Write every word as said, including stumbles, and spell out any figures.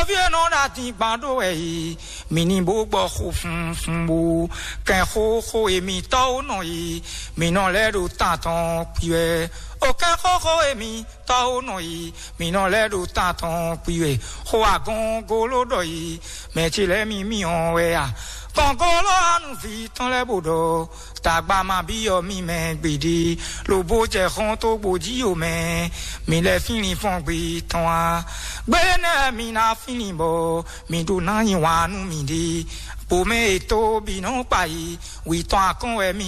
Fí e nɔ ɖo adingban ɖó wɛ yi, mǐ ní bó gbɔ xo funfun bó kɛn xóxó e mǐ tɔ́ ó nɔ yi, mǐ nɔ lɛ́ ɖo tantɔn kpi wɛ. O kɛn xóxó e mǐ tɔ́ ó nɔ yi, mǐ nɔ lɛ́ ɖo tantɔn kpi wɛ. Xó agɔngolo ɖɔ yi, mɛ ce lɛ́ɛ mi mì ɔn wɛ a? Gɔngolo anu vi tɔn lɛ́ bó ɖɔ, tagba ma byɔ́ mì mɛ gbeɖé, lobo jɛ xɔ́n tó gbodíyó mɛ, mi lɛ fínlin fɔ́n gbe tɔn a? Gbé nɛ́ mi ná fínlin bɔ mi ɖó ná nyi wǎn nú miɖée, bǒ mɛ e tó bǐ nɔ kpa yi, wǐ tɔn akɔ́n wɛ mi